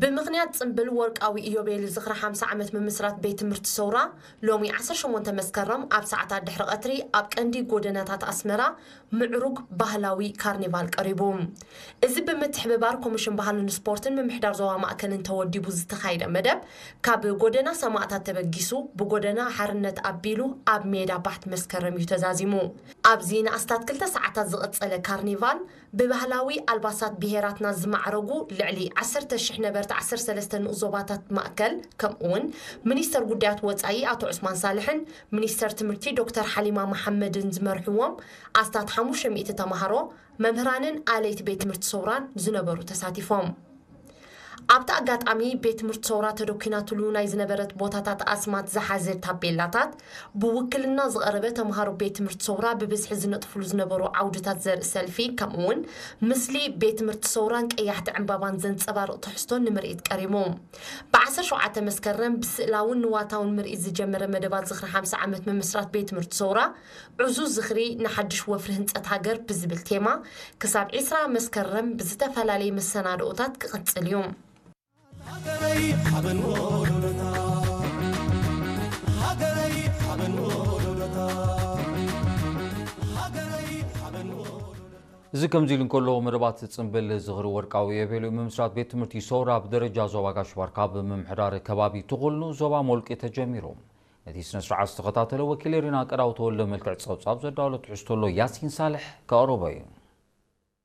ብምኽንያት ጽምብል ወርቃዊ ኢዮቤል ዝኽሪ ሓምሳ ዓመት ምምስራት ቤት ትምህርቲ ሰውራ፣ ሎሚ ዓሰርተ ሸሞንተ መስከረም ኣብ ሰዓታት ድሕሪ ቀትሪ ኣብ ቀንዲ ጎደናታት ኣስመራ ምዕሩግ ባህላዊ ካርኒቫል ቀሪቡ። እዚ ብምትሕብባር ኮሚሽን ባህልን ስፖርትን ምምሕዳር ዞባ ማእከልን ተወዲቡ ዝተኻየደ መደብ፣ ካብ ጎደና ሰማእታት ተበጊሱ ብጎደና ሓርነት ኣቢሉ ኣብ ሜዳ ባሕቲ መስከረም እዩ ተዛዚሙ። ኣብዚ ንኣስታት ክልተ ሰዓታት ዝቐጸለ ካርኒቫል፣ ብባህላዊ ኣልባሳት ብሄራትና ዝማዕረጉ ልዕሊ ዓሰርተ ሽሕ ነበርቲ ዓሰርተ ሰለስተ ንኡስ ዞባታት ማእከል፣ ከምኡውን ሚኒስተር ጉዳያት ወጻኢ ኣቶ ዑስማን ሳልሕን ሚኒስተር ትምህርቲ ዶክተር ሓሊማ መሓመድን ዝመርሕዎም ኣስታት ሓሙሽተ ሚእቲ ተማሃሮ፣ መምህራንን ኣለይቲ ቤት ትምህርቲ ሰውራን ዝነበሩ ተሳቲፎም። ኣብቲ ኣጋጣሚ፣ ቤት ትምህርቲ ሰውራ ተደኲናትሉ ናይ ዝነበረት ቦታታት ኣስማት ዝሓዘ ታቤላታት፣ ብውክልና ዝቐረበ ተምሃሮ ቤት ትምህርቲ ሰውራ ብብዝሒ ዝነጥፍሉ ዝነበሩ ዓውድታት ዘርኢ ሰልፊ፣ ከምኡውን ምስሊ ቤት ትምህርቲ ሰውራን ቀያሕቲ ዕምባባን ዘንጸባርቕ ትሕዝቶ ንምርኢት ቀሪቡ። ብ ዓሰርተ ሸውዓተ መስከረም ብስእላውን ንዋታውን ምርኢት ዝጀመረ መደባት ዝኽሪ ሓምሳ ዓመት ምምስራት ቤት ትምህርቲ ሰውራ፣ ዕዙዝ ዝኽሪ ንሓድሽ ወፍሪ ህንጸት ሃገር ብዝብል ቴማ፣ ክሳብ ዕስራ መስከረም ብዝተፈላለየ መሰናድኦታት ክቕጽል እዩ። ሃገረይ ሓበን ወሎዶታ፣ ሃገረይ ሓበን ወሎዶታ፣ ሃገረይ ሓበን ወሎዶታ። እዚ ከምዚ ኢሉ እንከሎ፣ መደባት ጽምብል ዝኽሪ ወርቃዊ ኢዮቤልዩ ምምስራት ቤት ትምህርቲ ሰውራ ብደረጃ ዞባ ጋሽ ባርካ ብምምሕዳር ከባቢ ትኹል ንኡስ ዞባ ሞልቂ ተጀሚሩ። ነቲ ስነ ስርዓት ዝተኸታተለ ወኪል ኤሪና ቀዳው ተወልደ መልክዕ ጸብጻብ ዘዳወሎ ትሕዝቶ ኣሎ፣ ያሲን ሳልሕ ከቕርቦ እዩ።